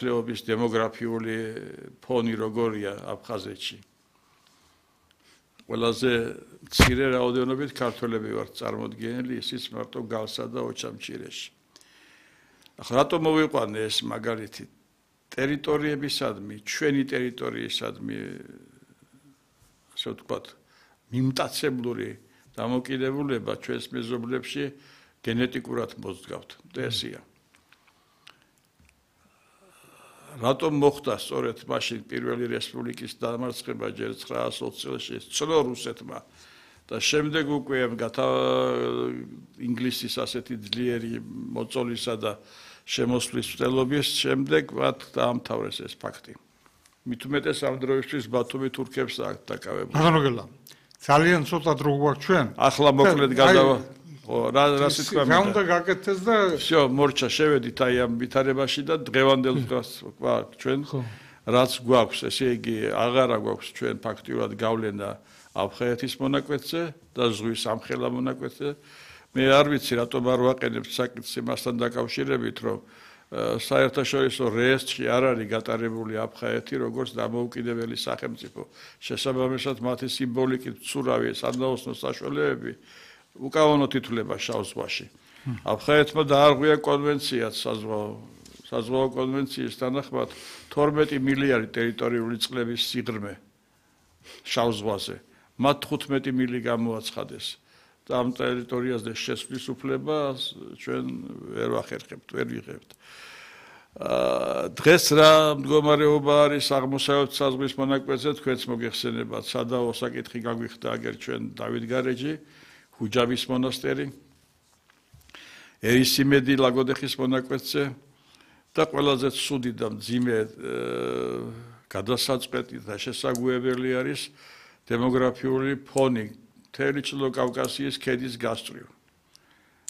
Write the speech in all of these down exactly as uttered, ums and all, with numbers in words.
ლეობის დემოგრაფიული ფონი როგორია აფხაზეთში. ყველაზე მცირე რაოდენობით ქართველები ვართ წარმოდგენილი, ისიც მარტო გალსა და ოჩამჭირეში. ახლა რატომ მოვიყვანე ეს მაგალითი? ტერიტორიებისადმი, ჩვენი ტერიტორიისადმი, ასე ვთქვათ, მიმტაცებლური დამოკიდებულება ჩვენს მეზობლებში გენეტიკურად მოძგავთ. ესია. რატომ მოხდა სწორედ მაშინ პირველი რესპუბლიკის დამარცხება ჯერ ცხრაას ოცი წელს ცნო რუსეთმა და შემდეგ უკვე გათა ინგლისის ასეთი ძლიერი მოწოლისა და შემოსვლის მცდელობის შემდეგ მათ დაამთავრეს ეს ფაქტი. მით უმეტეს ამ დროისთვის ბათუმი თურქებს აქვს დაკავებული. ბატონო, ძალიან ცოტა დრო გვაქვს ჩვენ. ახლა მოკლედ გადავა რა რა სიტყვა რა უნდა გაკეთდეს და всё, მორჩა შევედით აი ამ ვითარებაში და დღევანდელ დღეს გვაქვს ჩვენ რაც გვაქვს, ესე იგი აღარა გვაქვს ჩვენ ფაქტიურად გავლენა აფხაზეთის მონაკვეთზე და ზღვის ამხელა მონაკვეთზე. მე არ ვიცი რატომ არ ვაყენებ საკითხს იმასთან დაკავშირებით, რომ საერთაშორისო რეესტრში არ არის გატარებული აფხაზეთი როგორც დამოუკიდებელი სახელმწიფო. შესაბამისად მათი სიმბოლიკით ცურავი სადაოსნო საშუალებები უკავონოდ ითვლება შავ ზღვაში. აფხაზეთმა დაარღვია კონვენციაც საზღვაო საზღვაო კონვენციის თანახმად თორმეტი მილიარდი ტერიტორიული წყლების სიღრმე შავ ზღვაზე. მათ თხუთმეტი მილი გამოაცხადეს. და ამ ტერიტორიაზე შესვლის უფლებას ჩვენ ვერ ვახერხებთ, ვერ ვიღებთ. დღეს რა მდგომარეობა არის აღმოსავლეთ საზღვრის მონაკვეთზე, თქვენც მოგეხსენებათ, სადაო საკითხი გაგვიხდა აგერ ჩვენ დავითგარეჯი, ჰუჯაბის მონასტერი, ერისიმედი ლაგოდეხის მონაკვეთზე და ყველაზე ცუდი და მძიმე გადასაწყვეტი და შესაგვიებელი არის დემოგრაფიული ფონი მთელი ჩრდილო კავკასიის ქედის გასწვრივ.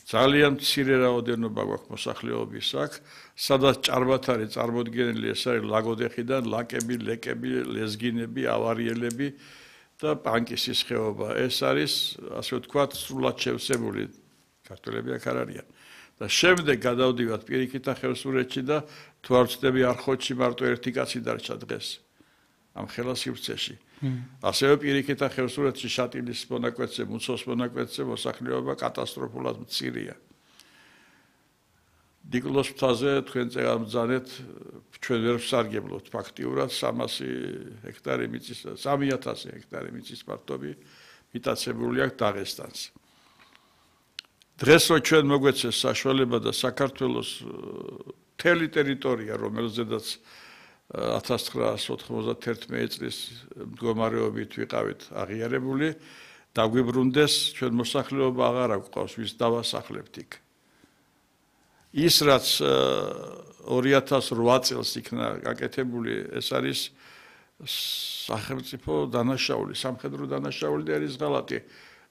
ძალიან მცირე რაოდენობა გვაქვს მოსახლეობის აქ, სადაც ჭარბად არის წარმოდგენილი ეს არის ლაგოდეხიდან ლაკები, ლეკები, ლეზგინები, ავარიელები და პანკისის ხეობა. ეს არის, ასე ვთქვათ, სრულად შევსებული ქართველები აქ არ არიან. და შემდეგ გადავდივართ პირიქითა ხევსურეთში და თუ არ ვცდები არხოტში მარტო ერთი კაცი დარჩა დღეს ამ ხელა სივრცეში. ასევე პირიქითა ხევსურეთში შატილის მონაკვეთზე, მუცოს მონაკვეთზე მოსახლეობა კატასტროფულად მცირეა. დიკლოს მთაზე თქვენ წეგამბრძანეთ ჩვენ ვერ ვსარგებლობთ ფაქტიურად სამასი ჰექტარი მიწის, სამი ათასი ჰექტარი მიწის პარტობი მიტაცებული აქვს დაღესტანს. დღეს რო ჩვენ მოგვეცეს საშუალება და საქართველოს მთელი ტერიტორია, რომელზედაც ათას ცხრაას ოთხმოცდაერთი წლის მდგომარეობით ვიყავით აღიარებული, დაგვიბრუნდეს ჩვენ მოსახლეობა აღარ გვყავს ვის დავასახლებთ იქ. ის რაც ორი ათას რვა წელს იქნა გაკეთებული, ეს არის სახელმწიფო დანაშაული, სამხედრო დანაშაული და არის ღალატი.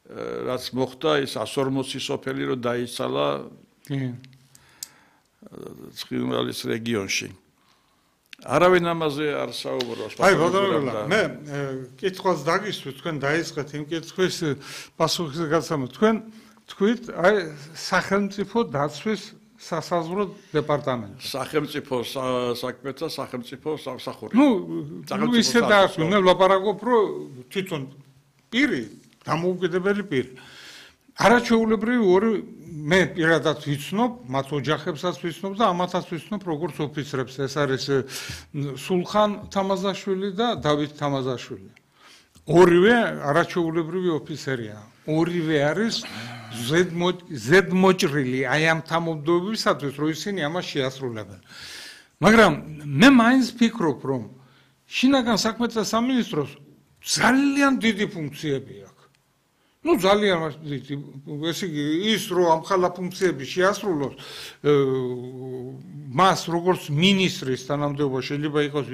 რაც მოხდა ის ას ორმოცი სოფელი რო დაიცალა ცხინვალის რეგიონში. არავინ ამაზე არ საუბრობს. აი ბატონო, მე კითხვას დაგისვით, თქვენ დაიწყეთ იმ კითხვის პასუხზე გაცემოთ. თქვენ თქვით, აი სახელმწიფო დაცვის სასაზღვრო დეპარტამენტი. სახელმწიფო საქმეთა სახელმწიფო სამსახური. ნუ ისე დაასვი, მე ვლაპარაკობ, რომ თვითონ პირი დამოუკიდებელი პირი. არაჩვეულებრივი ორი მე პირადად ვიცნობ, მათ ოჯახებსაც ვიცნობ და ამათაც ვიცნობ როგორც ოფიცრებს. ეს არის სულხან თამაზაშვილი და დავით თამაზაშვილი. ორივე არაჩვეულებრივი ოფიცერია. ორივე არის ზედმოჭრილი აი ამ თანამდებობისათვის, რომ ისინი ამას შეასრულებენ. მაგრამ მე მაინც ფიქრობ, რომ შინაგან საქმეთა სამინისტროს ძალიან დიდი ფუნქციები აქვს. Ну, ძალიან დიდი, ესე იგი, ის რომ ამ ხალხ ფუნქციები შეასრულოს, მას როგორც მინისტრის თანამდებობა შეიძლება იყოს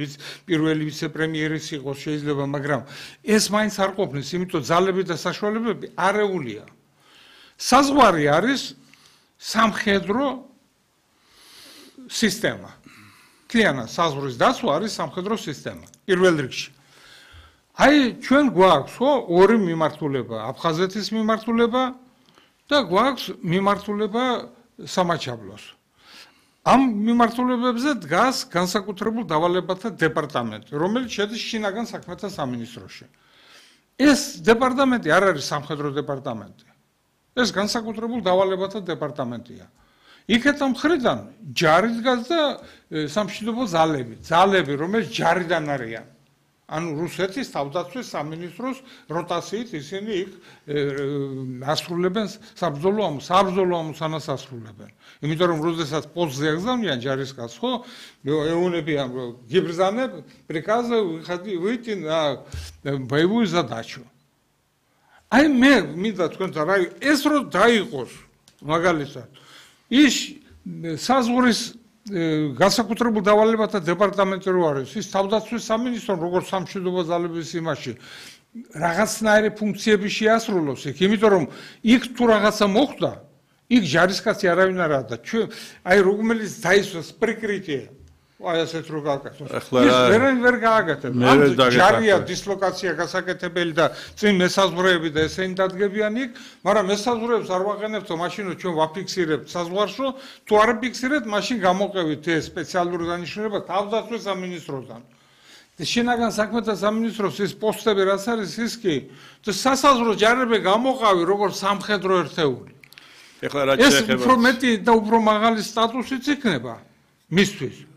პირველი ვიცე-პრემიერის იყოს შეიძლება, მაგრამ ეს მაინც არ ყოფნის, იმიტომ ძალები და საშუალებები არეულია. საზღვარი არის სამხედრო სისტემა. მთლიანად საზღვრის დაცვა არის სამხედრო სისტემა, პირველ რიგში. აი ჩვენ გვაქვს ხო ორი მიმართულება, აფხაზეთის მიმართულება და გვაქვს მიმართულება სამაჩაბლოს. ამ მიმართულებებზე დგას განსაკუთრებულ დავალებათა დეპარტამენტი, რომელიც შედის შინაგან საქმეთა სამინისტროში. ეს დეპარტამენტი არ არის სამხედრო დეპარტამენტი. ეს განსაკუთრებულ დავალებათა დეპარტამენტია. იქეთა მხრიდან ჯარი დგას და სამშვიდობო ძალები, ძალები, რომელიც ჯარიდან არიან. ანუ რუსეთის თავდაცვის სამინისტროს როტაციით ისინი იქ ასრულებენ საბრძოლო ამბავს, საბრძოლო ამბავს ასრულებენ. იმიტომ რომ როდესაც პოსტზე აგზავნიან ჯარისკაცს, ხო, ეუნებიან გიბრძანებ, приказ выйти на боевую задачу. აი მე მინდა თქვენთან რა ეს რო დაიყოს მაგალითად ის საზღვრის განსაკუთრებულ დავალებათა დეპარტამენტი რო არის ის თავდაცვის სამინისტრო როგორც სამშვიდობო ძალების იმაში რაღაცნაირი ფუნქციები შეასრულოს იქ იმიტომ რომ იქ თუ რაღაცა მოხდა იქ ჯარისკაცი არავინ არაა და ჩვენ აი რომელიც დაისვას პრიკრიტია აი ასეთ რო გააკეთოს ის ვერან ვერ გააკეთებს ამ ჯარია დისლოკაცია გასაკეთებელი და წინ მესაზღვრეები და ესენი დადგებიან იქ მაგრამ მესაზღვრეებს არ ვაყენებთ მაშინ ჩვენ ვაფიქსირებთ საზღვარშო თუ არ ფიქსირებთ მაშინ გამოყევით ეს სპეციალური დანიშნულება თავდაცვის სამინისტროდან შინაგან საქმეთა სამინისტროს ის პოსტები რაც არის ის კი სასაზღვრო ჯარები გამოყავი როგორც სამხედრო ერთეული ეხლა რა ეს უფრო მეტი და უფრო მაღალი სტატუსიც იქნება მისთვის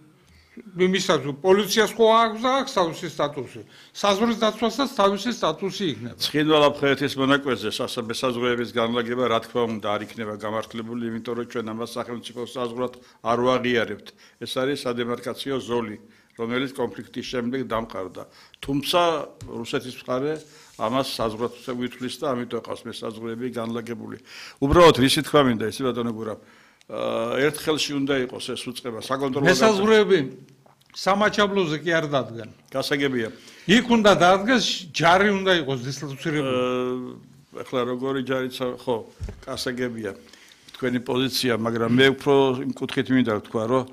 მისად პოლიციას ხო აქვს და აქვს თავისი სტატუსი. საზღვრის დაცვასაც თავისი სტატუსი იქნება. ცხინვალაფხეეთის მონაკვეთზე სასაზღვროების განლაგება რა თქმა უნდა არ იქნება გამართლებული, იმიტომ რომ ჩვენ ამას სახელმწიფო საზღვრად არ ვაღიარებთ. ეს არის სადემარკაციო ზოლი, რომელიც კონფლიქტის შემდეგ დამყარდა. თუმცა რუსეთის მხარე ამას საზღვრად უთვლის და ამიტომ ყავს მესაზღვრეები განლაგებული. უბრალოდ რისი თქვა მინდა ისი ბატონო გურამ ერთ ხელში უნდა იყოს ეს უწყება საკონტროლო მესაზღვრეები სამაჩაბლოზე კი არ დადგან. გასაგებია. იქ უნდა დადგეს ჯარი უნდა იყოს დისლოცირებული. ეხლა როგორი ჯარიც ხო, გასაგებია. თქვენი პოზიცია, მაგრამ მე უფრო იმ კუთხით მინდა ვთქვა, რომ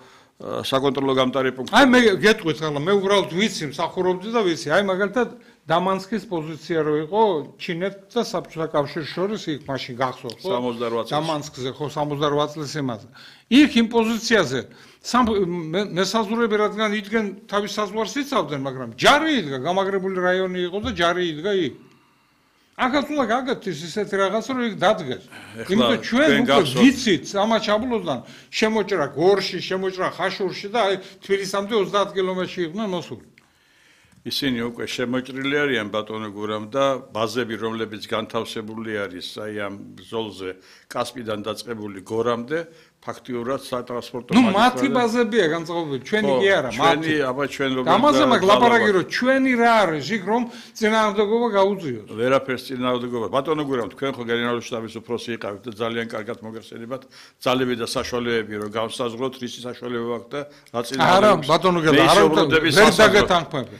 საკონტროლო გამტარი პუნქტი. აი მე გეტყვით ახლა, მე უბრალოდ ვიცი, მსახურობდი და ვიცი. აი მაგალითად დამანსკის პოზიცია რო იყო ჩინეთს და საბჭოთა კავშირის შორის იქ მაშინ გახსოვთ ხო? სამოცდაროც წელს. დამანსკზე ხო სამოცდაროც წელს იმაზე. იქ იმ პოზიციაზე მესაზღვრეები რადგან იდგენ თავის საზღვარს იცავდნენ, მაგრამ ჯარი იდგა, გამაგრებული რაიონი იყო და ჯარი იდგა იქ. ახაც უნდა გაგაკეთოს ისეთი რაღაც რომ იქ დადგეს. იმიტომ ჩვენ უკვე ვიცით სამაჩაბლოდან შემოჭრა გორში, შემოჭრა ხაშურში და აი თბილისამდე ოცდაათ კილომეტრში იყვნენ მოსული. ისინი უკვე შემოჭრილი არიან ბატონო გურამ და ბაზები რომლებიც განთავსებული არის აი ამ ბრძოლზე კასპიდან დაწყებული გორამდე ფაქტიურად სატრანსპორტო მაგისტრალი. ნუ მათი ბაზებია განწყობილი, ჩვენი კი არა, მათი. ჩვენი, აბა ჩვენ როგორ ამაზე მაგ ლაპარაკი რომ ჩვენი რა არის იქ რომ წინააღმდეგობა გაუწიოს. ვერაფერს წინააღმდეგობა. ბატონო გურამ, თქვენ ხო გენერალური შტაბის უფროსი იყავით და ძალიან კარგად მოგეხსენებათ ძალები და საშუალებები რომ გავსაზღვროთ რისი საშუალება აქვს და რა წინააღმდეგობა. არა, ბატონო გურამ, არა ვერ დაგეთანხმები.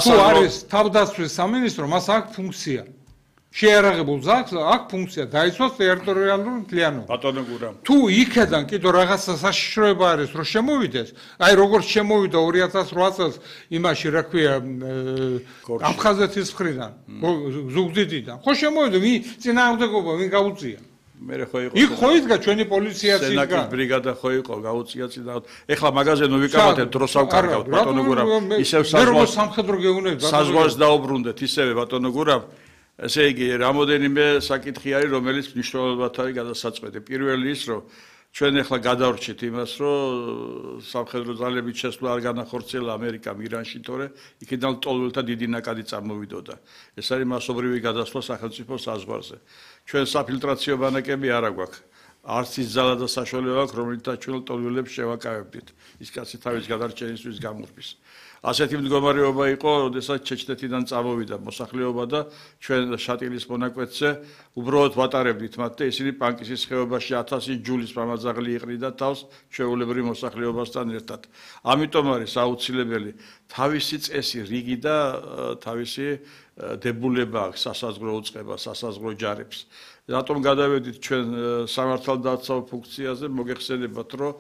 თუ არის თავდაცვის სამინისტრო, მას აქვს ფუნქცია. შეერაღებულ ზაქს აქვს ფუნქცია დაიცვას ტერიტორიალური მთლიანობა. ბატონო გურამ. თუ იქედან კიდო რაღაცა საშიშროება არის რომ შემოვიდეს, აი როგორც შემოვიდა ორი ათას რვა წელს იმაში რა ქვია აფხაზეთის მხრიდან, ზუგდიდიდან. ხო შემოვიდა, ვინ წინააღმდეგობა, ვინ გაუწია? მე ხო იყო. იქ ხო იდგა ჩვენი პოლიციაც იდგა. სენაკის ბრიგადა ხო იყო, გაუწია წინააღმდეგ. ეხლა მაგაზე ნუ ვიკავათეთ, დროს ავკარგავთ ბატონო გურამ. ისევ საზღვარს სამხედრო გეუბნებით. საზღვარს დაუბრუნდეთ ისევე ბატონო გურამ. ესე იგი, რამოდენიმე საკითხი არის, რომელიც მნიშვნელოვნად არის გადასაწყვეტი. პირველი ის, რომ ჩვენ ახლა გადავრჩით იმას, რომ სამხედრო ძალების შესვლა არ განახორციელა ამერიკამ ირანში, თორე იქიდან ლტოლვილთა დიდი ნაკადი წარმოვიდოდა. ეს არის მასობრივი გადასვლა სახელმწიფო საზღვარზე. ჩვენ საფილტრაციო ბანაკები არ აგვაქვს. არც ის ძალა და საშუალება აქვს, რომელთაც ჩვენ ლტოლვილებს შევაკავებდით. ის კაცი თავის გადარჩენისთვის გამურბის. ასეთი მდგომარეობა იყო, როდესაც ჩეჩნეთიდან წამოვიდა მოსახლეობა და ჩვენ შატილის მონაკვეთზე უბრალოდ ვატარებდით მათ და ისინი პანკისის ხეობაში ათასი ჯულის მამაძაღლი იყრიდა თავს ჩვეულებრივ მოსახლეობასთან ერთად. ამიტომ არის აუცილებელი თავისი წესი, რიგი და თავისი დებულება აქვს სასაზღვრო უწყება, სასაზღვრო ჯარებს. რატომ გადავედით ჩვენ სამართალდაცავ ფუნქციაზე, მოგეხსენებათ, რომ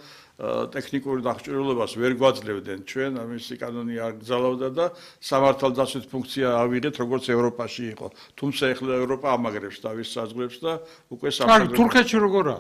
ტექნიკური დახჭირულობას ვერ გვაძლევდნენ ჩვენ, ამისი კანონი არ გზავნოდა და სამართალდაცვის ფუნქცია ავიღეთ, როგორც ევროპაში იყო. თუმცა ეხლა ევროპა ამაგრებს თავის საზღვრებს და უკვე სამხედრო. თურქეთში როგორა?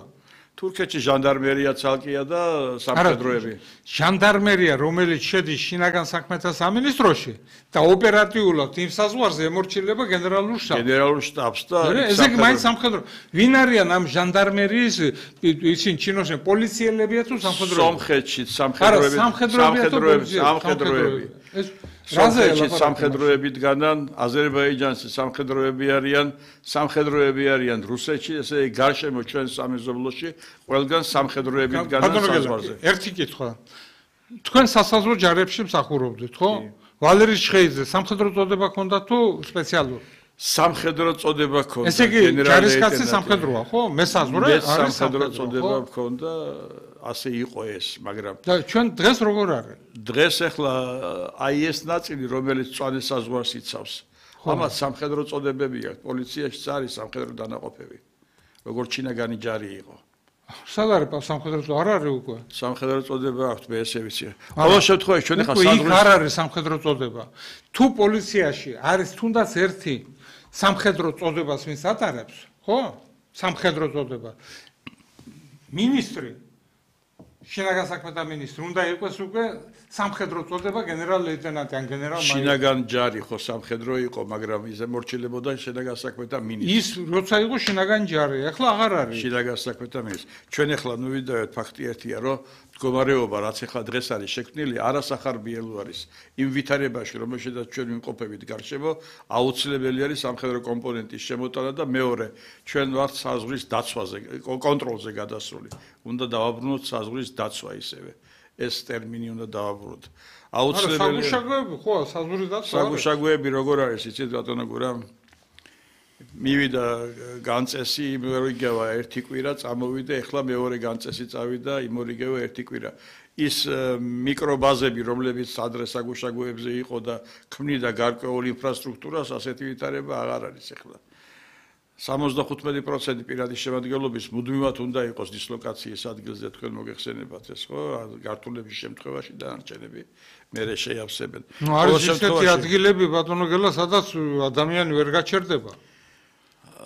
თურქეთში ჟანდარმერია ცალკეა და სამხედროები. ჟანდარმერია, რომელიც შედის შინაგან საქმეთა სამინისტროში და ოპერატიულად იმ საზღვარზე ემორჩილება გენერალურ შტაბს. გენერალურ შტაბს და ესე იგი მაინც სამხედრო. ვინ არიან ამ ჟანდარმერიის ისინი ჩინოში პოლიციელებია თუ სამხედროები? სომხეთში სამხედროები, სამხედროები, სამხედროები. ეს სომხეთში სამხედროები დგანან, აზერბაიჯანში სამხედროები არიან, სამხედროები არიან რუსეთში, ესე იგი გარშემო ჩვენ სამეზობლოში ყველგან სამხედროები დგანან საზღვარზე. ერთი კითხვა. თქვენ სასაზღვრო ჯარებში მსახურობდით, ხო? ვალერი შხეიძე სამხედრო წოდება ჰქონდა თუ სპეციალური? სამხედრო წოდება ჰქონდა. ესე იგი ჯარისკაცი სამხედროა, ხო? მესაზღვრე არის სამხედრო წოდება ჰქონდა, ასე იყო ეს, მაგრამ და ჩვენ დღეს როგორ არის? დღეს ახლა აი ეს ნაწილი, რომელიც წვანის საზღვარს იცავს. ამას სამხედრო წოდებები აქვს, პოლიციაში არის სამხედრო დანაყოფები. როგორც ჩინაგანი ჯარი იყო. სად არის სამხედრო წოდება? არ არის უკვე. სამხედრო წოდება აქვს, მე ესე ვიცი. ყოველ შემთხვევაში ჩვენ ახლა საზღვრის იქ არ არის სამხედრო წოდება. თუ პოლიციაში არის თუნდაც ერთი სამხედრო წოდებას ვინც ატარებს, ხო? სამხედრო წოდება. მინისტრი შინაგან საქმეთა მინისტრი უნდა იყოს უკვე სამხედრო წოდება გენერალ-ლეიტენანტი ან გენერალ-მაიორი. შინაგან ჯარი ხო სამხედრო იყო, მაგრამ ის ემორჩილებოდა შინაგან საქმეთა მინისტრი. ის როცა იყო შინაგან ჯარი, ახლა აღარ არის. შინაგან საქმეთა მინისტრი. ჩვენ ახლა ნუ ვიდავთ ფაქტი ერთია, რომ მდგომარეობა რაც ახლა დღეს არის შექმნილი, არასახარბიელო არის. იმ ვითარებაში, რომელშედაც ჩვენ ვიმყოფებით გარშემო, აუცილებელი არის სამხედრო კომპონენტის შემოტანა და მეორე, ჩვენ ვართ საზღვრის დაცვაზე, კონტროლზე გადასული. უნდა დავაბრუნოთ საზღვრის დაცვა ისევე. ეს ტერმინი უნდა დავაბრუნოთ. აუცილებელია. საგუშაგოები ხო, საზღვრის დაცვა. საგუშაგოები როგორ არის, იცით ბატონო გურა? მივიდა განწესი, იმორიგევა ერთი კვირა წამოვიდა, ეხლა მეორე განწესი წავიდა, იმორიგევა ერთი კვირა. ის მიკრობაზები, რომლებიც ადრე საგუშაგოებზე იყო და ქმნიდა გარკვეულ ინფრასტრუქტურას, ასეთი ვითარება აღარ არის ეხლა. სამოცდახუთმეტი პროცენტი პირადი შემადგენლობის მუდმივად უნდა იყოს დისლოკაციის ადგილზე, თქვენ მოგეხსენებათ ეს ხო? გართულების შემთხვევაში დანარჩენები მერე შეავსებენ. ნუ არის ისეთი ადგილები ბატონო გელა, სადაც ადამიანი ვერ გაჩერდება.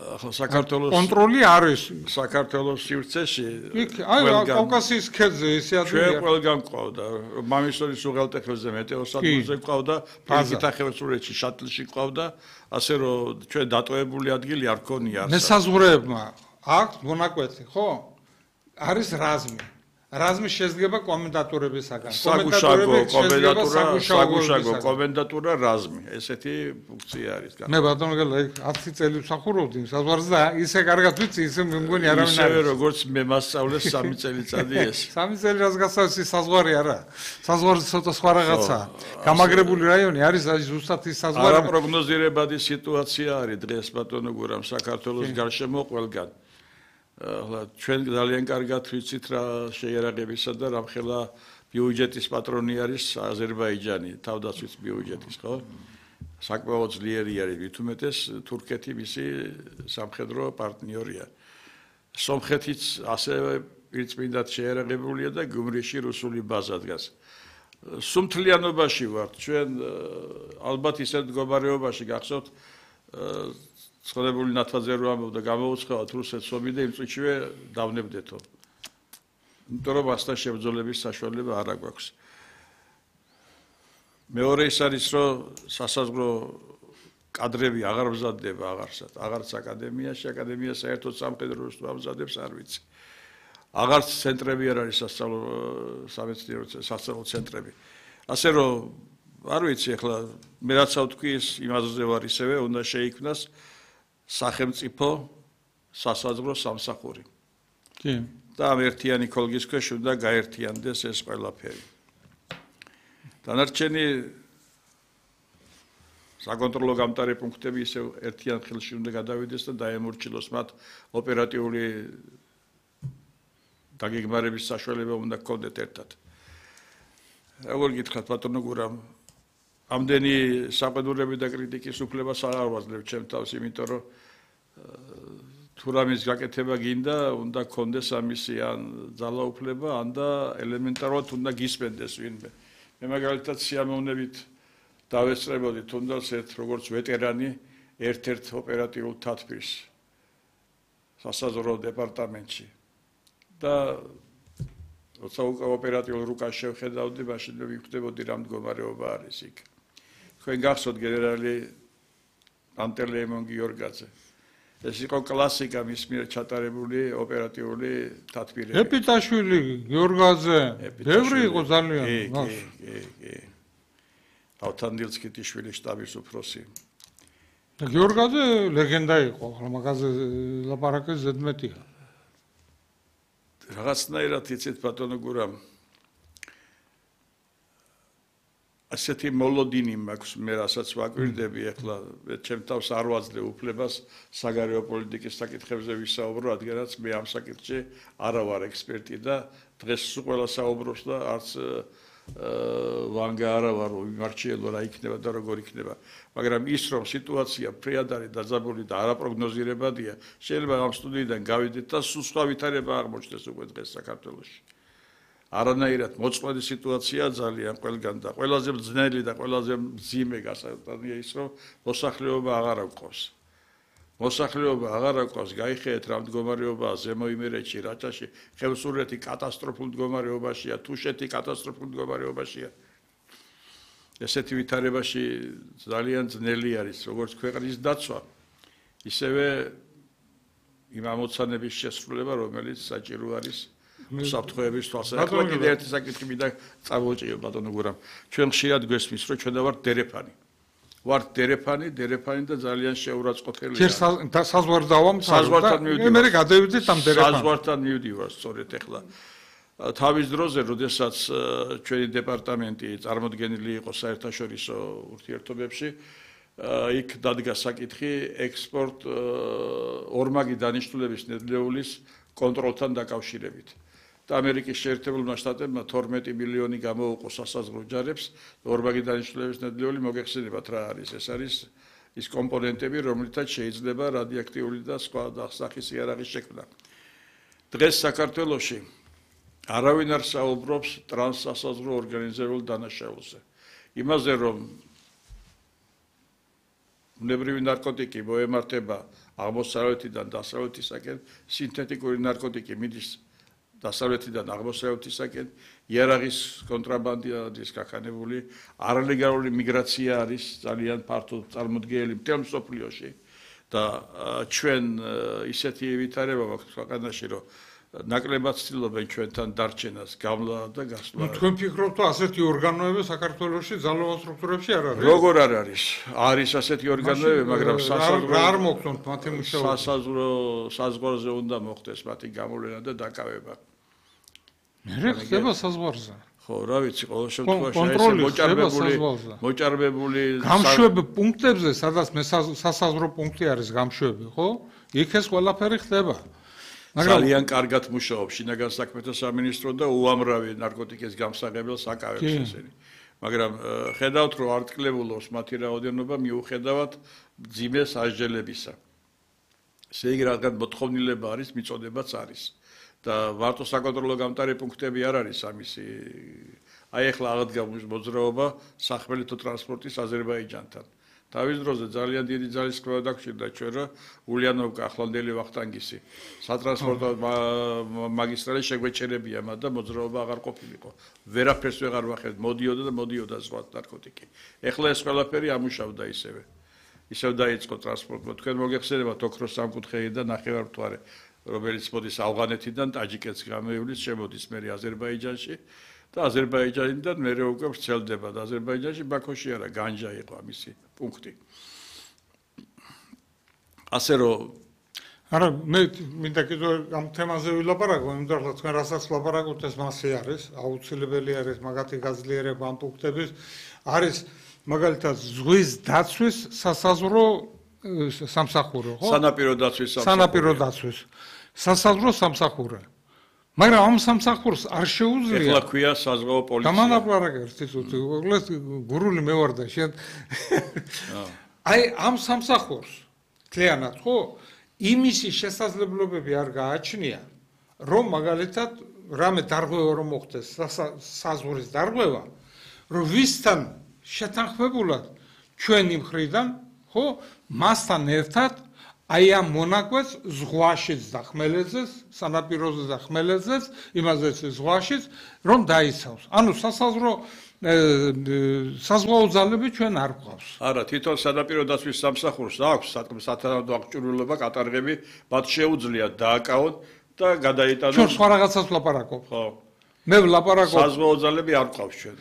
ახლა საქართველოს კონტროლი არის საქართველოს სივრცეში. იქ აი კავკასიის ქედზე ისე ადგილია. ჩვენ ყველგან ყავდა. მამისოლის უღელტეხილზე მეტეოსადგურზე ყავდა, ფიზიკათახევსურეთში შატლში ყავდა, ასე რომ ჩვენ დატოვებული ადგილი არ ქონია. მესაზღვრეებმა აქვს მონაკვეთი, ხო? არის რაზმი. რაზმი შედგება კომენდატურებისაგან. საგუშაგო კომენდატურა, საგუშაგო კომენდატურა რაზმი. ესეთი ფუნქცია არის. მე ბატონო გელა იქ ათი წელი ვსახურობდი საზღვარზე და ისე კარგად ვიცი, ისე მე მგონი არავინ არ ისევე როგორც მე მასწავლეს სამი წელიწადი ეს. სამი წელი რაც გასავს ის საზღვარი არა. საზღვარი ცოტა სხვა რაღაცაა. გამაგრებული რაიონი არის ზუსტად ის საზღვარი. არაპროგნოზირებადი სიტუაცია არის დღეს ბატონო გურამ საქართველოს გარშემო ყველგან. ახლა ჩვენ ძალიან კარგად ვიცით რა შეიარაღებისა და რამხელა ბიუჯეტის პატრონი არის აზერბაიჯანი, თავდაცვის ბიუჯეტის, ხო? საკმაოდ ძლიერი არის, მით უმეტეს თურქეთი მისი სამხედრო პარტნიორია. სომხეთიც ასევე პირწმინდად შეიარაღებულია და გუმრიში რუსული ბაზა დგას. სუმთლიანობაში ვართ, ჩვენ ალბათ ისეთ მდგომარეობაში გახსოვთ ცხადებული ნათაძე რო ამბობდა გამოუცხავთ რუსეთს ომი და იმ წუთშივე დავნებდეთო. იმიტომ რომ ასთან შებრძოლების საშუალება არ აქვს. მეორე ის არის რომ სასაზღვრო კადრები აღარ მზადდება აღარსად, აღარც აკადემიაში, აკადემია საერთოდ სამხედრო ამზადებს არ ვიცი. აღარც ცენტრები არ არის სასწავლო სამეცნიერო სასწავლო ცენტრები. ასე რომ არ ვიცი ახლა მე რაც ავთქვი ის იმაზე ვარ ისევე უნდა შეიქმნას სახელმწიფო სასაზღვრო სამსახური. კი. და ამ ერთიანი ქოლგის ქვეშ უნდა გაერთიანდეს ეს ყველაფერი. დანარჩენი საკონტროლო გამტარი პუნქტები ისევ ერთიან ხელში უნდა გადავიდეს და დაემორჩილოს მათ ოპერატიული დაგეგმარების საშუალება უნდა გქონდეთ ერთად. როგორ გითხრათ ბატონო გურამ, ამდენი საყედურები და კრიტიკის უფლებას არ ვაძლევ ჩემ თავს, იმიტომ რომ თუ რამის გაკეთება გინდა, უნდა გქონდეს ამისი ან ძალაუფლება, ან და ელემენტარულად უნდა გისმენდეს ვინმე. მე მაგალითად სიამოვნებით დავესწრებოდი თუნდაც ერთ როგორც ვეტერანი ერთ-ერთ ოპერატიულ თათბირს სასაზღვრო დეპარტამენტში. და როცა უკვე ოპერატიულ რუკას შევხედავდი, მაშინ მე ვიხვდებოდი რა მდგომარეობა არის იქ. თქვენ გახსოვთ გენერალი პანტელეიმონ გიორგაძე. ეს იყო კლასიკა მის მიერ ჩატარებული ოპერატიული თათბირება. ეპიტაშვილი, გიორგაძე, ბევრი იყო ძალიან. კი, კი, კი. ავთანდილსკიტიშვილი შტაბის უფროსი. და გიორგაძე ლეგენდა იყო, ახლა მაგაზე ლაპარაკის ზედმეტია. რაღაცნაირად იცით ბატონო გურამ. ასეთი მოლოდინი მაქვს მე რასაც ვაკვირდები ახლა ჩემ თავს არ ვაძლევ უფლებას საგარეო პოლიტიკის საკითხებზე ვისაუბრო, რადგანაც მე ამ საკითხში არა ვარ ექსპერტი და დღეს ყველა საუბრობს და არც ვანგა არა ვარ მიმარჩიელო რა იქნება და როგორ იქნება. მაგრამ ის რომ სიტუაცია ფრიად არის დაძაბული და არაპროგნოზირებადია, შეიძლება ამ სტუდიიდან გავიდეთ და სულ სხვა ვითარება აღმოჩნდეს უკვე დღეს საქართველოში. არანაირად მოწყვლადი სიტუაცია ძალიან ყველგან და ყველაზე ძნელი და ყველაზე მძიმე გასაგებია ის რომ მოსახლეობა აღარ აქვს. მოსახლეობა აღარ აქვს, გაიხედეთ რა მდგომარეობაა ზემო იმერეთში, რაჭაში, ხევსურეთი კატასტროფულ მდგომარეობაშია, თუშეთი კატასტროფულ მდგომარეობაშია. ესეთი ვითარებაში ძალიან ძნელი არის როგორც ქვეყნის დაცვა, ისევე იმ ამოცანების შესრულება, რომელიც საჭირო არის საფრთხეების თვალსაზრისით. კიდევ ერთი საკითხი მინდა წამოვჭიო ბატონო გურამ. ჩვენ ხშირად გვესმის, რომ ჩვენ ვართ დერეფანი. ვართ დერეფანი, დერეფანი და ძალიან შეურაცხყოფელია. ჯერ საზღვარდავამ საზღვართან მივდივარ. მე გადავიდეთ ამ დერეფანს. საზღვართან მივდივარ სწორედ ახლა. თავის დროზე, როდესაც ჩვენი დეპარტამენტი წარმოდგენილი იყო საერთაშორისო ურთიერთობებში, იქ დადგა საკითხი ექსპორტ ორმაგი დანიშნულების ნედლეულის კონტროლთან დაკავშირებით. და ამერიკის შეერთებულმა შტატებმა თორმეტი მილიონი გამოუყო სასაზღვრო ჯარებს, ორმაგი დანიშნულების ნედლეული მოგეხსენებათ რა არის. ეს არის ის კომპონენტები, რომლითაც შეიძლება რადიოაქტიული და სხვა სახის იარაღის შექმნა. დღეს საქართველოში არავინ არ საუბრობს ტრანსსასაზღვრო ორგანიზებულ დანაშაულზე. იმაზე, რომ ბუნებრივი ნარკოტიკი მოემართება აღმოსავლეთიდან დასავლეთისაკენ, სინთეთიკური ნარკოტიკი მიდის დასავლეთიდან აღმოსავლეთისაკენ, იარაღის კონტრაბანდის გაქანებული, არალეგალური მიგრაცია არის ძალიან ფართო წარმოდგენილი მთელ მსოფლიოში და ჩვენ ისეთი ვითარება გვაქვს ქვეყანაში, რომ ნაკლებად ცდილობენ ჩვენთან დარჩენას, გამლა და გასვლა. ნუ თქვენ ფიქრობთ, რომ ასეთი ორგანოები საქართველოში ძალოვან სტრუქტურებში არ არის? როგორ არ არის? არის ასეთი ორგანოები, მაგრამ სასაზღვრო არ მოხდათ მათი მუშაობა. სასაზღვრო საზღვარზე უნდა მოხდეს მათი გამოვლენა და დაკავება. მე ხდება საზღვარზე. ხო, რა ვიცი, ყოველ შემთხვევაში ეს მოჭარბებული მოჭარბებული გამშვები პუნქტებზე, სადაც მე სასაზღვრო პუნქტი არის გამშვები, ხო? იქ ეს ყველაფერი ხდება. ძალიან კარგად მუშაობს შინაგან საქმეთა სამინისტრო და უამრავი ნარკოტიკის გამსაღებელს აკავებს ესენი. მაგრამ ხედავთ, რომ არ ტკლებულობს მათი რაოდენობა მიუხედავად მძიმე სასჯელებისა. ესე იგი, რადგან მოთხოვნილება არის, მიწოდებაც არის. და ვარტო საკონტროლო გამტარი პუნქტები არ არის ამისი. აი ახლა აღდგა მოძრაობა სახმელეთო ტრანსპორტის აზერბაიჯანთან. თავის დროზე ძალიან დიდი ძალისხმევა დაგჭირდა ჩვენ, რომ ულიანოვკა ახლანდელი ვახტანგისი სატრანსპორტო მაგისტრალი შეგვეჩერებია, მაგრამ მოძრაობა აღარ ყოფილიყო. ვერაფერს ვეღარ ვახერხეთ, მოდიოდა და მოდიოდა სხვა ნარკოტიკი. ეხლა ეს ყველაფერი ამუშავდა ისევე. ისევ დაიწყო ტრანსპორტმა. თქვენ მოგეხსენებათ ოქროს სამკუთხედი და ნახევარმთვარე, რომელიც მოდის ავღანეთიდან, ტაჯიკეთს გამოივლის, შემოდის მერე აზერბაიჯანში. და აზერბაიჯანიდან მერე უკვე ვრცელდება და აზერბაიჯანში ბაქოში არა, განჯა იყო ამისი პუნქტი. ასე რომ არა, მე მინდა კიდევ ამ თემაზე ვილაპარაკო, იმიტომ რომ თქვენ რასაც ვლაპარაკობთ, ეს მასე არის, აუცილებელი არის მაგათი გაძლიერება ამ პუნქტების. არის მაგალითად ზღვის დაცვის სასაზღვრო სამსახური, ხო? სანაპირო დაცვის სამსახური. სანაპირო დაცვის სასაზღვრო სამსახური. მაგრამ ამ სამსახურს არ შეუძლია. ეხლა ქვია საზღვაო პოლიცია. გამანაპარაკე ერთი წუთი, უგლეს გურული მე ვარ და შენ. აი ამ სამსახურს თლიანად, ხო? იმისი შესაძლებლობები არ გააჩნია, რომ მაგალითად რამე დარღვევა რომ მოხდეს, საზღვრის დარღვევა, რომ ვისთან შეთანხმებულად ჩვენი მხრიდან, ხო, მასთან ერთად აი ამ მონაკვეთს ზღვაშიც და ხმელეთზეც, სანაპიროზე და ხმელეთზეც, იმაზეც ზღვაშიც რომ დაიცავს. ანუ სასაზღვრო საზღვაო ძალები ჩვენ არ გვყავს. არა, თვითონ სანაპირო დაცვის სამსახურს აქვს სათანადო აღჭურვილობა კატარღები, მათ შეუძლიათ დააკავონ და გადაიტანონ. ჩვენ სხვა რაღაცას ვლაპარაკობ. ხო. მე ვლაპარაკობ საზღვაო ძალები არ გვყავს ჩვენ.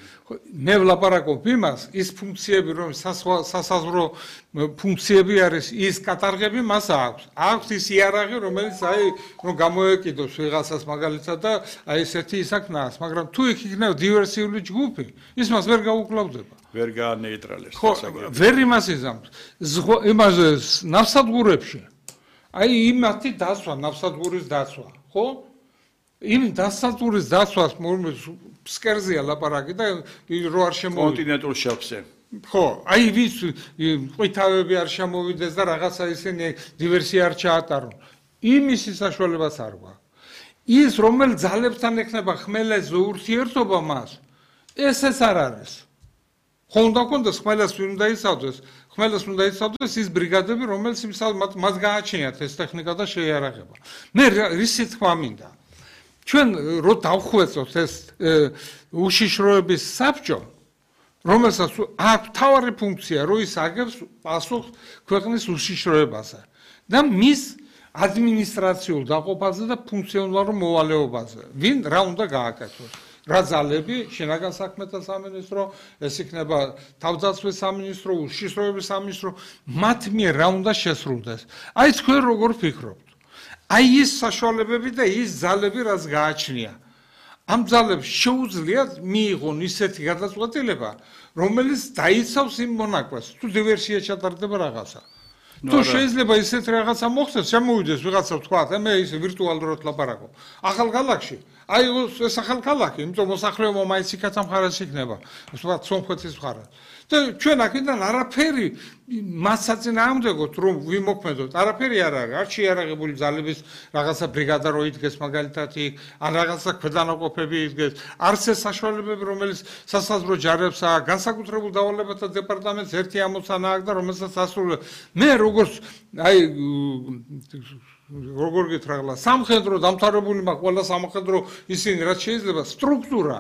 მე ვლაპარაკობ იმას, ის ფუნქციები რომ სასაზღვრო ფუნქციები არის, ის კატარღები მას აქვს. აქვს ის იარაღი, რომელიც აი რომ გამოეკიდოს ვიღაცას მაგალითად და აი ესეთი ისაკნას, მაგრამ თუ იქ იქნება დივერსიული ჯგუფი, ის მას ვერ გაუკლავდება. ვერ გაანეიტრალებს. ხო, ვერ იმას იზამს. იმაზე ნავსადგურებში. აი იმათი დაცვა, ნავსადგურის დაცვა, ხო? იმ დასაწურის დაცვას ფსკერზეა ლაპარაკი და რო არ შემოვიდეს კონტინენტურ შელფზე. ხო, აი ვის ყვითავები არ შემოვიდეს და რაღაცა ისინი დივერსია არ ჩაატარონ. იმის საშუალებას არ გვაქვს. ის რომელ ძალებთან ექნება ხმელეთზე ურთიერთობა მას, ესეც არ არის. ხო უნდა კონდეს ხმელეთს ვინ უნდა იცავდეს, ხმელეთს უნდა იცავდეს ის ბრიგადები, რომელიც მას გააჩნიათ ეს ტექნიკა და შეიარაღება. მე რისი თქვა მინდა? ჩვენ რო დავხვეწოთ ეს უშიშროების საბჭო, რომელსაც აქვს მთავარი ფუნქცია, რომ ის აგებს პასუხს ქვეყნის უშიშროებაზე და მის ადმინისტრაციულ დაყოფაზე და ფუნქციონალურ მოვალეობაზე. ვინ რა უნდა გააკეთოს? რა ძალები, შინაგან საქმეთა სამინისტრო, ეს იქნება თავდაცვის სამინისტრო, უშიშროების სამინისტრო, მათ მიერ რა უნდა შესრულდეს? აი თქვენ როგორ ფიქრობთ? აი ის საშუალებები და ის ძალები რაც გააჩნია. ამ ძალებს შეუძლიათ მიიღონ ისეთი გადაწყვეტილება, რომელიც დაიცავს იმ მონაკვეთს, თუ დივერსია ჩატარდება რაღაცა. თუ შეიძლება ისეთი რაღაცა მოხდეს, შემოვიდეს ვიღაცა თქვა, მე ის ვირტუალურად ლაპარაკობ. ახალ ქალაქში, აი ეს ახალ ქალაქი, იმიტომ მოსახლეობა მაინც იქაც მხარეს იქნება, ვთქვათ, სომხეთის მხარეს. და ჩვენ აქედან არაფერი მასაწინააღმდეგოთ რომ ვიმოქმედოთ, არაფერი არ არის, არ შეიარაღებული ძალების რაღაცა ბრიგადა რო იდგეს მაგალითად იქ, ან რაღაცა ქვედანაყოფები იდგეს, არც ეს საშუალებები, რომელიც სასაზღვრო ჯარებს აქვს, განსაკუთრებულ დავალებათა დეპარტამენტს ერთი ამოცანა აქვს და რომელსაც ასრულებს. მე როგორც აი როგორ გითხრა, სამხედრო დამთავრებული მაქვს ყველა სამხედრო ისინი რაც შეიძლება სტრუქტურა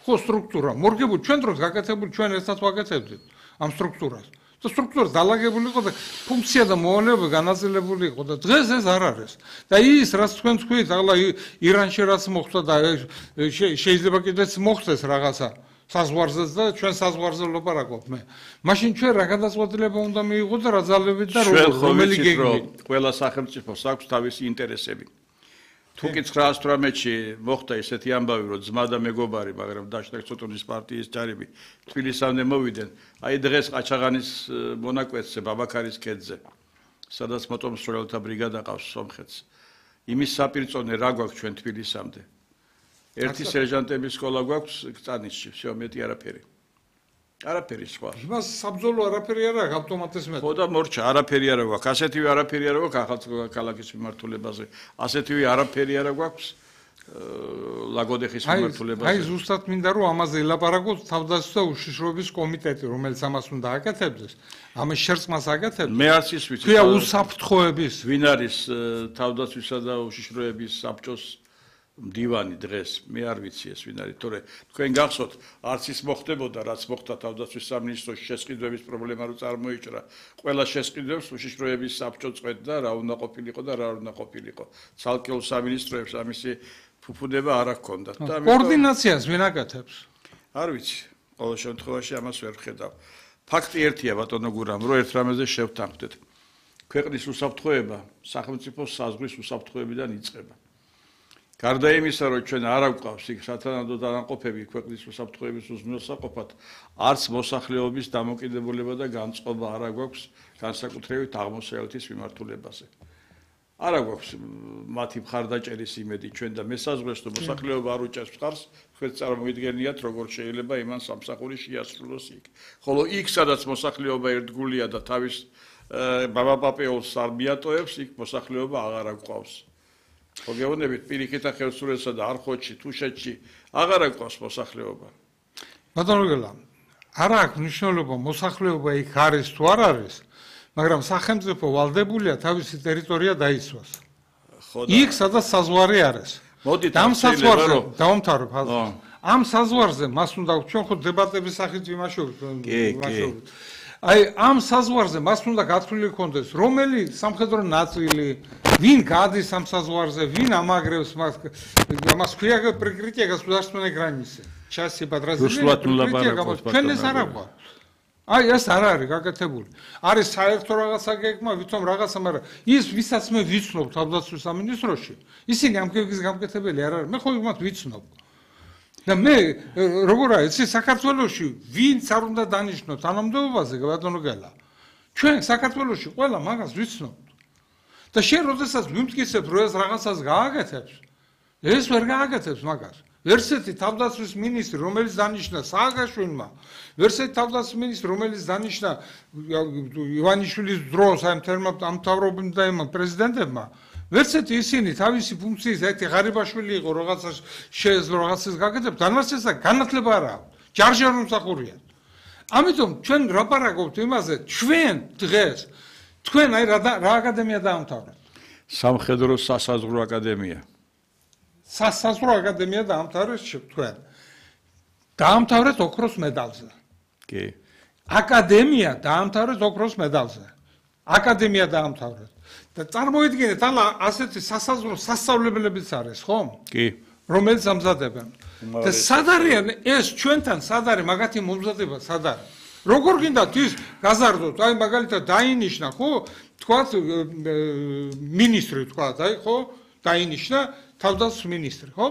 ხო სტრუქტურა მორგებული ჩვენ დროს გაკეთებული ჩვენ ერთად ვაკეთებდით ამ სტრუქტურას და სტრუქტურა დალაგებული იყო და ფუნქცია და მოვალეობა განაწილებული იყო და დღეს ეს არ არის და ის რაც თქვენ თქვით ახლა ირანში რაც მოხდა და შეიძლება კიდეც მოხდეს რაღაცა საზღვარზეც და ჩვენ საზღვარზე ვლაპარაკობ მე მაშინ ჩვენ რა გადაწყვეტილება უნდა მიიღოთ და რა ძალები და რომელი გეგმით ყველა სახელმწიფოს აქვს თავისი ინტერესები თუ კი ცხრაას თვრამეტში მოხდა ესეთი ამბავი, რომ ძმა და მეგობარი, მაგრამ დაშტაკ ცოტონის პარტიის ჯარები თბილისამდე მოვიდნენ, აი დღეს ყაჩაღანის მონაკვეთზე, ბაბაქარის ქედზე, სადაც მოტომსროლთა ბრიგადა ყავს სომხეთს. იმის საპირწონე რა გვაქვს ჩვენ თბილისამდე? ერთი სერჟანტების სკოლა გვაქვს კწანისში, всё, მეტი არაფერი. არაფერი სხვა. იმას საბრძოლო არაფერი არ აქვს ავტომატის მეტ. ხო და მორჩა, არაფერი არ გვაქვს. ასეთივე არაფერი არ გვაქვს ახალ ქალაქის მიმართულებაზე. ასეთივე არაფერი არ გვაქვს ლაგოდეხის მიმართულებაზე. აი ზუსტად მინდა რომ ამაზე ელაპარაკოთ თავდაცვის და უშიშროების კომიტეტი, რომელიც ამას უნდა აკეთებდეს. ამის შერწყმას აკეთებს. მე არც ის ვიცი. ქვია უსაფრთხოების. ვინ არის თავდაცვისა და უშიშროების საბჭოს მდივანი დღეს მე არ ვიცი ეს ვინ არის თორე თქვენ გახსოვთ არც ის მოხდებოდა რაც მოხდა თავდაცვის სამინისტროში შესყიდვების პრობლემა რო წარმოიჭრა ყველა შესყიდვებს უშიშროების საბჭო წვეთდა რა უნდა ყოფილიყო და რა არ უნდა ყოფილიყო ცალკეულ სამინისტროებს ამისი ფუფუდება არ აქონდათ და კოორდინაციას ვინ აკეთებს არ ვიცი ყოველ შემთხვევაში ამას ვერ ვხედავ ფაქტი ერთია ბატონო გურამ რომ ერთ რამეზე შევთანხმდეთ ქვეყნის უსაფრთხოება სახელმწიფოს საზღვრის უსაფრთხოებიდან იწყება გარდა იმისა, რომ ჩვენ არ აგვყავს იქ სათანადო დანაყოფები ქვეყნის უსაფრთხოების უზრუნველსაყოფად, არც მოსახლეობის დამოკიდებულება და განწყობა არ აგვაქვს განსაკუთრებით აღმოსავლეთის მიმართულებაზე. არ აგვაქვს მათი მხარდაჭერის იმედი ჩვენ და მესაზღვრეს, რომ მოსახლეობა არ უჭერს მხარს, თქვენ წარმოიდგენიათ, როგორ შეიძლება იმან სამსახური შეასრულოს იქ. ხოლო იქ, სადაც მოსახლეობა ერთგულია და თავის ბაბაპაპეულს არ მიატოვებს, იქ მოსახლეობა აღარ აგვყავს. მოგეუბნებით პირიქით ახალსურეთსა და არხოტში, თუშეთში აღარ აგვყავს მოსახლეობა. ბატონო გელა, არ აქვს მნიშვნელობა მოსახლეობა იქ არის თუ არ არის. მაგრამ სახელმწიფო ვალდებულია თავისი ტერიტორია დაიცვას. იქ სადაც საზღვარი არის. მოდით ამ საზღვარზე დავამთავრებ ხაზს. ამ საზღვარზე მას უნდა ჩვენ ხო დებატების სახით ვიმაშავებთ. აი ამ საზღვარზე მას უნდა გათვლილი ქონდეს რომელი სამხედრო ნაწილი ვინ გადის ამ საზღვარზე ვინ ამაგრებს მას ამას ქვია პრიკრიტია გასუდარственной границы части подразделения ჩვენ ეს არ აქვს აი ეს არ არის გაკეთებული არის საერთო რაღაცა გეგმა ვითომ რაღაცა მაგრამ ის ვისაც მე ვიცნობ თავდაცვის სამინისტროში ისინი ამ გეგმის გამკეთებელი არ არის მე ხო იმათ ვიცნობ და მე როგორ არის ეს საქართველოში ვინც არ უნდა დანიშნოს თანამდებობაზე ბატონო გელა ჩვენ საქართველოში ყველა მაგას ვიცნობთ და შენ როდესაც ვიმტკიცებ რომ ეს რაღაცას გააკეთებს ეს ვერ გააკეთებს მაგას ვერსეთი თავდაცვის მინისტრი რომელიც დანიშნა სააგაშვილმა ვერსეთი თავდაცვის მინისტრი რომელიც დანიშნა ივანიშვილის დროს ამ თერმა ამთავრობამ და იმ პრეზიდენტებმა ვერცეთი ისინი თავისი ფუნქციის ერთი ღარიბაშვილი იყო რაღაცა შეეძლო რაღაცას გაკეთებ დანარჩენსა განათლება არა აქვს ჯარჯარ მომსახურია ამიტომ ჩვენ რაპარაკობთ იმაზე ჩვენ დღეს თქვენ აი რა აკადემია დაამთავრეთ სამხედრო სასაზღვრო აკადემია სასაზღვრო აკადემია დაამთავრეთ თქვენ დაამთავრეთ ოქროს მედალზე კი აკადემია დაამთავრეთ ოქროს მედალზე აკადემია დაამთავრეთ და წარმოიდგინეთ ალა ასეთი სასაზღვრო სასწავლებლებიც არის ხო? კი. რომელიც ამზადებენ. და სად არიან ეს ჩვენთან სად არის მაგათი მომზადება სად არის? როგორ გინდათ ის გაზარდოთ აი მაგალითად დაინიშნა ხო? თქვათ მინისტრი თქვათ აი ხო? დაინიშნა თავდაცვის მინისტრი ხო?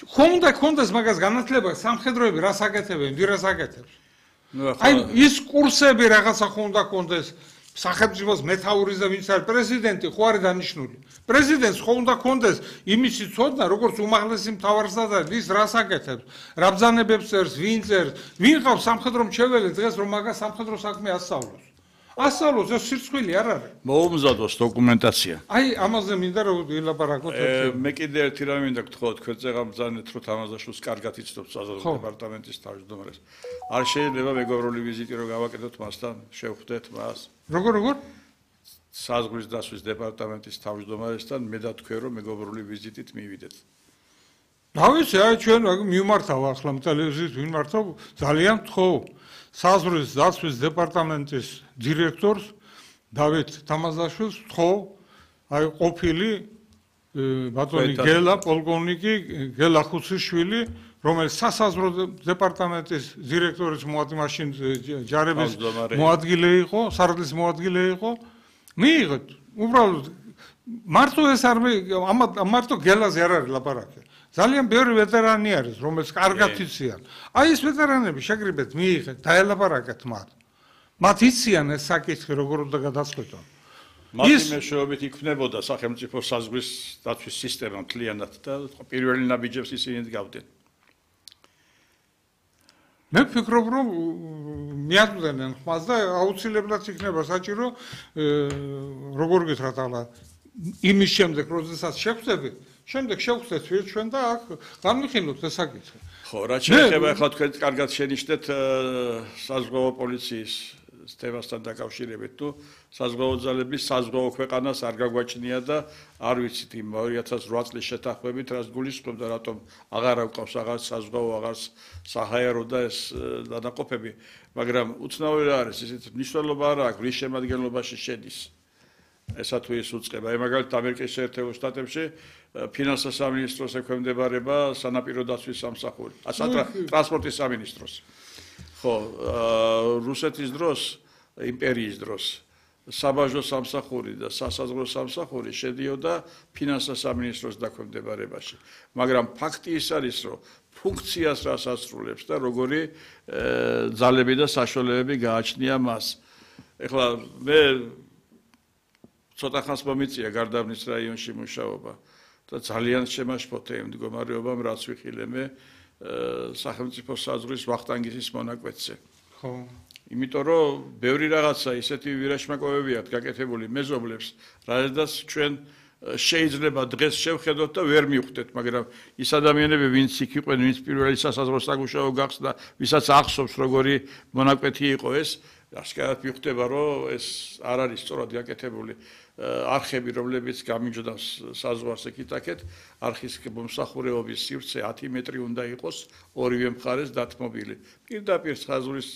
ხომ უნდა ქონდეს მაგას განათლება სამხედროები რას აკეთებენ, ვირას აკეთებს? აი ის კურსები რაღაცა ხომ უნდა ქონდეს სახელმწიფოს მეთაურის და ვინც არის პრეზიდენტი ხო არის დანიშნული. პრეზიდენტს ხო უნდა ქონდეს იმისი ცოდნა, როგორც უმაღლესი მთავარსა და ის რას აკეთებს, რა ბრძანებებს წერს, ვინ წერს, ვინ ყავს სამხედრო მრჩეველი დღეს რომ მაგას სამხედრო საქმე ასწავლოს. ასწავლოს ეს სირცხვილი არ არის. მოუმზადოს დოკუმენტაცია. აი ამაზე მინდა რომ ვილაპარაკოთ. მე კიდე ერთი რამე მინდა გთხოვოთ, თქვენ წეგამბრძანეთ რომ თამაზაშვილს კარგად იცნობთ საზღვაო დეპარტამენტის თავმჯდომარეს. არ შეიძლება მეგობრული ვიზიტი რომ გავაკეთოთ მასთან, შევხვდეთ მას. როგორ როგორ? საზღვრის დასვის დეპარტამენტის თავმჯდომარესთან მე და თქვენ რომ მეგობრული ვიზიტით მივიდეთ. დავიცი, აი ჩვენ მიმართავ ახლა ტელევიზიით მიმართავ ძალიან გთხოვ. საზღვრის დასვის დეპარტამენტის დირექტორს დავით თამაზაშვილს გთხოვ, აი ყოფილი ბატონი გელა პოლკოვნიკი გელა ხუციშვილი რომელიც სასაზღვრო დეპარტამენტის დირექტორის მოადგილე ჯარების მოადგილე იყო, სარდლის მოადგილე იყო. მიიღეთ, უბრალოდ მარტო ეს არ მარტო გელაზე არ არის ლაპარაკი. ძალიან ბევრი ვეტერანი არის, რომელიც კარგად იციან. აი ეს ვეტერანები შეგრიბეთ, მიიღეთ, დაელაპარაკეთ მათ. მათ იციან ეს საკითხი როგორ უნდა გადაწყვეტონ. მათი მეშვეობით იქნებოდა სახელმწიფო საზღვრის დაცვის სისტემა მთლიანად და პირველი ნაბიჯებს ისინი დგავდნენ. მე ვფიქრობ, რომ მიაწვდენენ ხმას და აუცილებლად იქნება საჭირო როგორ გითხრათ ახლა იმის შემდეგ, როდესაც შევხვდებით, შემდეგ შევხვდეთ ჩვენ და აქ განვიხილოთ ეს საკითხი. ხო, რაც შეეხება ახლა თქვენ კარგად შენიშნეთ საზღვაო პოლიციის თემასთან დაკავშირებით, თუ საზღვაო ძალების საზღვაო ქვეყანას არ გაგვაჩნია და არ ვიცით იმ ორი ათას რვა წლის შეთანხმებით, რაც გულისხმობდა, რატომ აღარ აქვს აღარც საზღვაო, აღარც საჰაერო და ეს დანაყოფები, მაგრამ უცნაური რა არის, ისეთ მნიშვნელობა არ აქვს, რის შემადგენლობაში შედის. ესა თუ ის უწყება. აი მაგალითად ამერიკის შეერთებულ შტატებში ფინანსთა სამინისტროს ექვემდებარება სანაპირო დაცვის სამსახური, ტრანსპორტის სამინისტროს. ხო, რუსეთის დროს, იმპერიის დროს საბაჟო სამსახური და სასაზღვრო სამსახური შედიოდა ფინანსთა სამინისტროს დაქვემდებარებაში. მაგრამ ფაქტი ის არის, რომ ფუნქციას რას ასრულებს და როგორი ძალები და საშუალებები გააჩნია მას. ეხლა მე ცოტა ხანს მომიწია გარდაბნის რაიონში მუშაობა და ძალიან შემაშფოთე იმ მდგომარეობამ, რაც ვიხილე მე სახელმწიფო საზღვრის ვახტანგის მონაკვეთზე. ხო. იმიტომ რომ ბევრი რაღაცა ისეთი ვირაჩმაკოვებია გაკეთებული მეზობლებს, რადგან ჩვენ შეიძლება დღეს შევხედოთ და ვერ მივხვდეთ, მაგრამ ის ადამიანები, ვინც იქ იყვნენ, ვინც პირველი სასაზღვრო საგუშაო გახსნა, ვისაც ახსოვს როგორი მონაკვეთი იყო ეს, ასკარად მივხვდება, რომ ეს არ არის სწორად გაკეთებული არხები, რომლებიც გამიჯდავს საზღვარს ეკითაკეთ, არხის მომსახურეობის სივრცე ათი მეტრი უნდა იყოს ორივე მხარეს დათმობილი. პირდაპირ საზღვრის